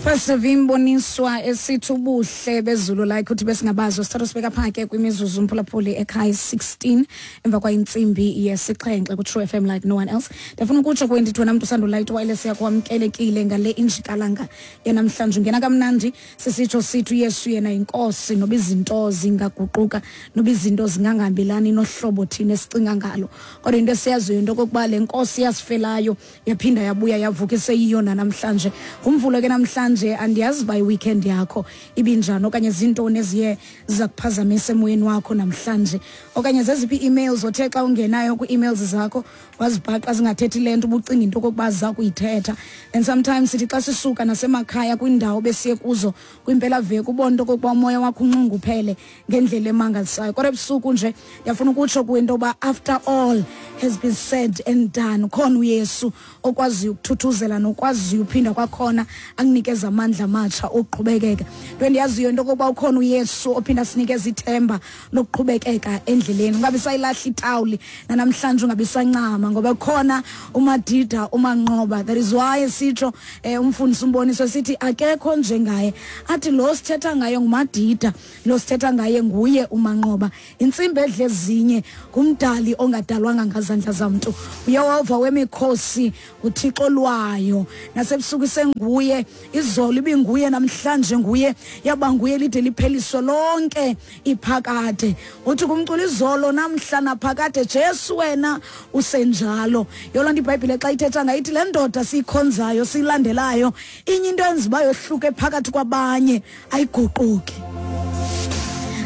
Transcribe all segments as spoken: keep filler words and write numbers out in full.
Pastor Vimboniswa esithi ubuhle bezulu like uthi besingabazo sithatha sibeka phake kwimizuzu umphulaphuli ekhaya sixteen emva kwayintsimbi yesixhenxe ku True F M like no one else. Ndifuna ukutsho kwendithi wena mntu usandula wireless yakho wamkelekile ngale injikalanga yanamhlanje ungena kamnandi sisitsho sithi uYesu yena inkosi noba izinto zingaguquka noba izinto zingangahambelani nohlobo thina esicinga ngalo. Kodwa into esiyaziyo into okokuba le nkosi yasifelayo yaphinda yabuya yavuka iseyiyona namhlanje. Ngumvulo ke namhlanje andiyazi by weekend yakho ibinjani okanye zintoni eziye zakuphazamisa emoyeni wakho namhlanje okanye zeziphi emails othe xa ungenayo ku-emails zakho wazibhaqa zingathethi le nto ubucinga into okokuba ziza kuyithetha. And sometimes sithi xa sisuka nasemakhaya kwiindawo besiye kuzo kwimpelaveki ubone into okokuba umoya wakho unxunguphele ngendlela emangalisayo. Kodwa ebusuku nje ndiyafuna ukutsho kuwe into yoba after all has been said and done khona uYesu okwaziyo ukuthuthuzela nokwaziyo uphinda kwakhona akunikeza amandla amatsha okuqhubekeka. Into endiyaziyo into okokuba ukhona uYesu ophinda sinikeza ithemba lokuqhubekeka endleleni. Ungabi sayilahla itawuli nanamhlanje ungabi sancama ngoba khona uMadida uManqoba. That is why sitsho eh, umfundisi umboniso sithi akekho njengaye. Athi lo sithetha ngaye nguMadida, lo sithetha ngaye nguye uManqoba. Intsimbi edle ezinye ngumdali ongadalwanga ngazandla zamntu. uYehova wemikhosi uThixo lwayo. Nasebusuku senguye, izolo ibinguye namhlanje nguye, yaba nguye lide lipheliswe lonke iphakade. Uthi kumculo izolo namhla naphakade Jesu wena usenjalo. Yona nto iBhayibhile xa ithetha ngayithi le ndoda siyikhonzayo siyilandelayo inye into enza uba yohluke phakathi kwabanye ayiguquki.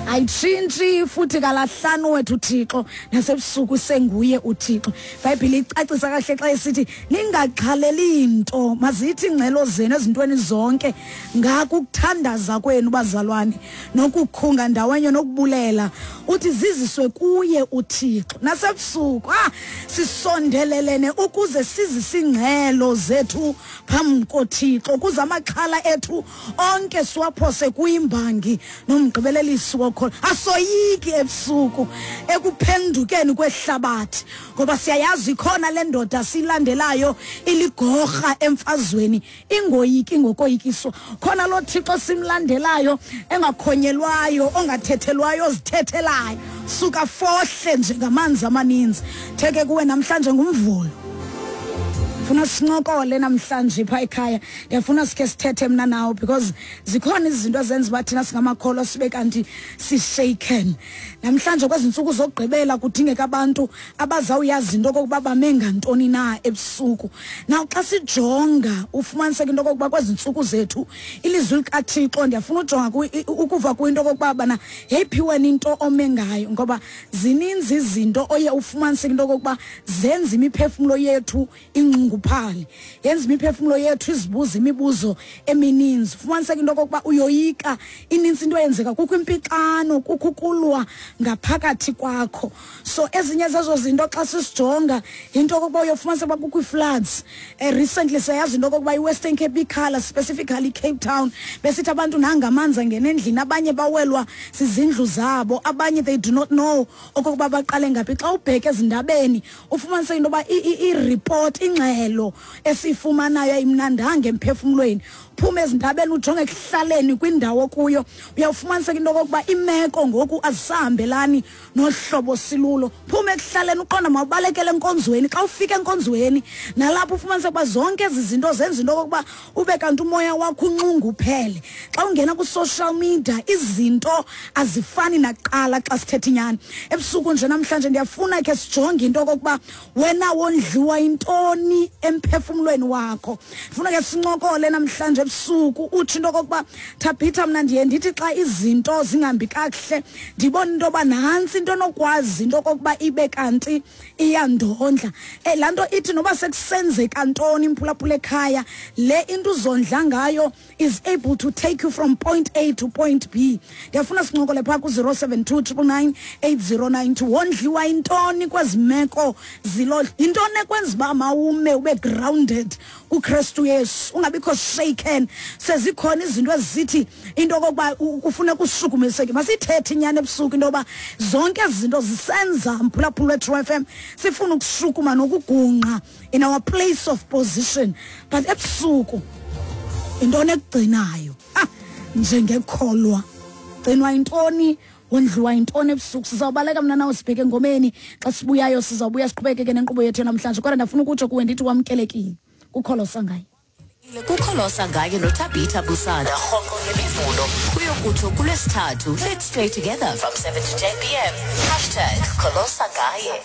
Ayitshintshi futhi kalahlanu wethu uThixo nasebusuku senguye uThixo. iBhayibhile icacisa kahle xa isithi ningaxhaleli into mazithi ingcelo zenu ezintweni zonke ngako ukuthandaza kwenu bazalwane nokukhunga ndawonye nokubulela uthi ziziswe kuye uThixo. Nasebusuku ah sisondelelene ukuze sizise ingcelo zethu phambi koThixo ukuze amaxhala ethu onke siwaphose kuyimbangi nomgqibelelisi wakho. Asoyiki ebusuku ekuphendukeni kwehlabathi ngoba siyayazi khona le ndoda silandelayo iligorha emfazweni ingoyiki ngokoyikiswa. Khona lo Thixo simlandelayo engakhonyelwayo ongathethelwayo ozithethelayo suka fohle njengamanzi amaninzi. Theke kuwe namhlanje ngumvulo. Funa sincokole namhlanje pha ekhaya. Ndiyafuna sikhe sithethe mna nawe because zikhona izinto ezenza uba thina singamakholwa sibe kanti si-shaken. Namhlanje kwezi ntsuku zokugqibela kudingeka abantu abazawuyazi into okokuba bame ngantoni na ebusuku. Now xa sijonga ufumaniseka into okokuba kwezi ntsuku zethu ilizwi likaThixo ndiyafuna ujonga ukuva kwinto okokuba bana yeyiphi wena into ome ngayo ngoba zininzi izinto oye ufumaniseka into okokuba zenza imiphefumlo yethu inxungu uphale yenza imiphefumulo yethu izibuza imibuzo emininzi. Fumaniseka into okokuba uyoyika ininzi into eyenzeka kukho impixano kukho ukulwa ngaphakathi kwakho. So ezinye zezo zinto xa sisijonga into okokuba uyofumaniseka uba kukho ii-floods. Eh, recently siyayazi into okokuba iWestern Cape ikhala specifically Cape Town besithi abantu nangamanzi angena endlini abanye bawelwa zizindlu zabo abanye they do not know okokuba baqale ngaphi. Xa ubheke ezindabeni ufumaniseka into yoba i-report ingxelo esifumanayo ayimnandanga emphefumulweni. Phuma ezindabeni ujonge ekuhlaleni kwindawo kuyo uyawufumaniseka into okokuba imeko ngoku azisahambelani nohlobo silulo. Phuma ekuhlaleni uqonda mawubalekele enkonzweni. Xa ufika enkonzweni nalapho ufumaniseka uba zonke ezi zinto zenza into okokuba ube kanti umoya wakho unxunguphele. Xa ungena ku-social media izinto azifani nakuqala xa sithetha inyani. Ebusuku nje namhlanje ndiyafuna ke sijonge into okokuba wena wondliwa intoni emphefumulweni wakho. Ndifuna ke sincokole namhlanje ebusuku uthi into okokuba Thabitha mna ndiye ndithi xa izinto zingahambi kakuhle ndibona into yoba nantsi into onokwazi into okokuba ibe kanti iyandondla. Eh, laa nto ithi noba sekusenzeka ntoni imphulaphula ekhaya le into uzondla ngayo is able to take you from point A to point B. Ndiyafuna sincokole phaa ku-zero seven two triple nine eight zero nine two. Wondliwa intoni kwezi meko zilodla? Yintoni ekwenza uba mawume ube grounded kuKristu Yesu ungabikho shaken? Sezikhona izinto ezithi into okokuba kufuneka ushukumiseke. Masithethe inyani ebusuku into yoba zonke ezi zinto zisenza mphulaphula weTrue F M sifuna ukushukuma nokugungqa in our place of position. But ebusuku Intoni ekugcinayo? Ah, njengekholwa. Gcinwa intoni? Wondliwa intoni ebusuku? Sizawubaleka mna nawe sibheke engomeni. Xa sibuyayo sizawubuya siqhubekeke nenkqubo yethu namhlanje. Kodwa ndafuna ukutsho kuwe ndithi wamkelekile kuKholosa Ngaye. KuKholosa Ngaye noTabitha Busana rhoqo ngemivulo kuyokutsho kulwesithathu. Let's stay together from seven to ten p m. Hashtag Kholosa Ngaye.